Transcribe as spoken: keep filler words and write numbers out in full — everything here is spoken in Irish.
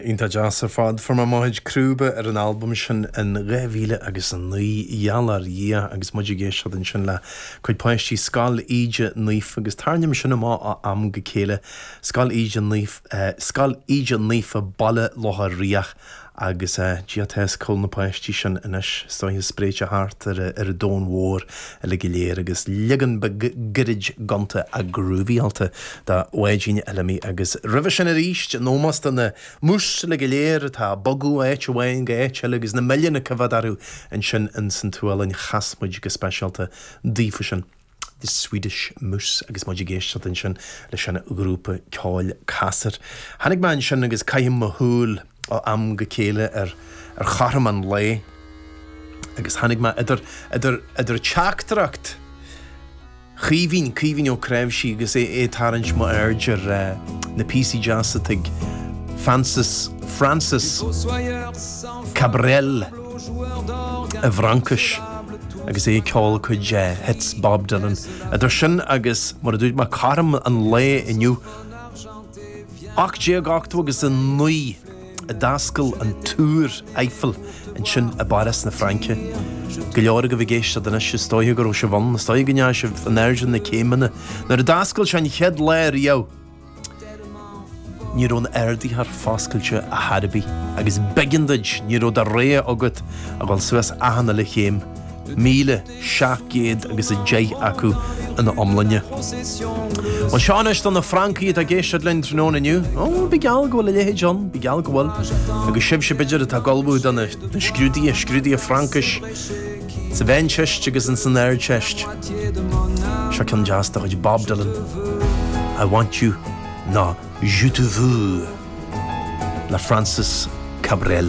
Iontach deas ar fad. Fuair mé mo chuid crúba ar an albam sin in dhá mhíle agus a naoi, gheall ar Dhia, agus muid ag éisteacht ansin le cuid páistí Scoil Íde Naofa agus tarraingím sin amach ó am go chéile, Scoil Íde Naofa, Scoil Íde Naofa Baile Locha Riach agus Dia atá os cionn na páistí sin anois, is dóiche spréite thart ar ar an domhan mhór uilig go léir agus leagan beag gairid gonta a groovyáilte de Bháidín Fheilimí agus roimhe sin arís in ómós do na mús uilig go léir atá ag bogadh ó áit amháin go áit eile agus na milliúin ag coimhéad orthu ansin ins an tSualainn chas muid go speisialta daofa sin. The Swedish Moose agus muid ag éisteacht ansin leis an ghrúpa ceoil Ceasair. Tháinig mé ansin agus caithim mo shúil ó am go chéile ar ar chothrom an lae agus tháinig mé idir idir idir teachtaireacht Chaoimhín, Caoimhín Ó Cnáimhsí agus é é ag tarraingt m'aird ar na píosaí deasa atá ag Francis Francis Cabrel i bhFraincis agus é ag ceol cuid hits Bob Dylan. Idir sin agus, mar a dúirt mé, cothrom an lae inniu, ocht déag ochtó agus a naoi a d'oscail an Túr Eiffel ansin i bPáras na Fraince. Go leor agaibh ag éisteacht anois, is dóiche go raibh sibh ann, is dóiche go ndeachaigh sibh in airde na céimeanna. Nuair a d'oscail sé an chéad lá riamh, ní raibh an ardaitheoir foscailte ar chor ar bith agus b'éigean duit, ní raibh de rogha agat a dhul suas achan uile chéim, míle seacht gcéad agus a deich acu ina iomláine. Bhuel, seo anois do na Francaigh atá ag éisteacht linn tráthnóna inniu. Ó, bí geall go bhfuil a leithéid ann, bí geall go bhfuil. Agus sibhse b'fhéidir atá ag ullmhú do na scrúduithe, scrúduithe Fraincis sa Mheánteist agus ins an Ardteist. Seo ceann deas de chuid Bob Dylan, I Want You nó Je Te Veux le Francis Cabrel.